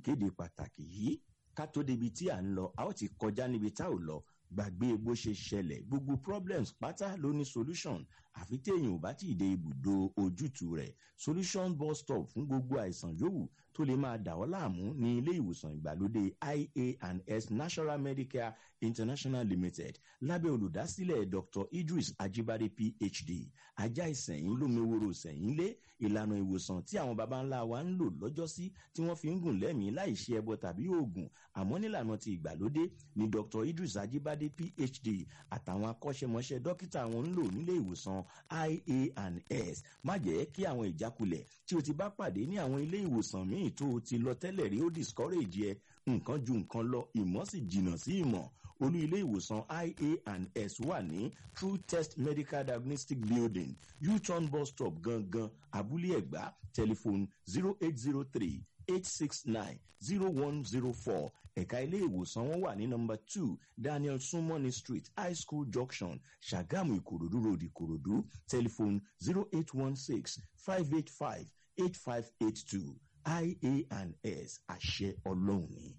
ìkéde pàtàkì yìí. Ká tó débi tí à ń lọ, a ó ti kọjá níbi tá ò lọ. Gbàgbé bó ṣe ṣẹlẹ̀, gbogbo problems pátá ló ní solution, àfi téèyàn ò bá tí ì dé ibùdó ojútùú rẹ̀. Solution bus stop fún gbogbo àìsàn yòówù tó lè máa dà ọ́ láàmú ní ilé ìwòsàn ìgbàlódé IA&S National Medicare International Limited lábẹ́ olùdásílẹ̀ Dr. Idris Ajibade, PhD. Ajá ìsẹ̀yìn lómeworo sẹ̀yìn lé ìlànà ìwòsàn tí àwọn baba ńlá wa ń lò lọ́jọ́sí tí wọ́n fi ń gùn lẹ́mìí láì ṣe ẹbọ tàbí oògùn, àmọ́ nílànà ti ìgbàlódé ni Dr. Idris Ajibade, PhD àtàwọn akọ́ṣẹ́mọṣẹ́ dókítà wọn ń lò nílé ìwòsàn IA&S. Má jẹ́ kí àwọn ìjákulẹ̀ tí o ti bá pàdé ní àwọn ilé ìwòsàn míì tó o ti lọ tẹ́lẹ̀ rí ó discourage ẹ. Nǹkan ju nǹkan lọ, ìmọ̀ sì jìnnà sí ìmọ̀. Olú ilé ìwòsàn IA&S wà ní True Test Medical Diagnostic Building, U-turn bus stop gangan, Abúlé Ẹ̀gbá. Telephone 08038690104. Ẹ̀ka ilé ìwòsàn wọn wà ní number 2 Daniel Sumoni Street, High School Junction, Ṣàgámù, Ìkòròdú Road, Ìkòròdú. Telephone 08165858582. IA&S, àṣẹ Ọlọ́run ni.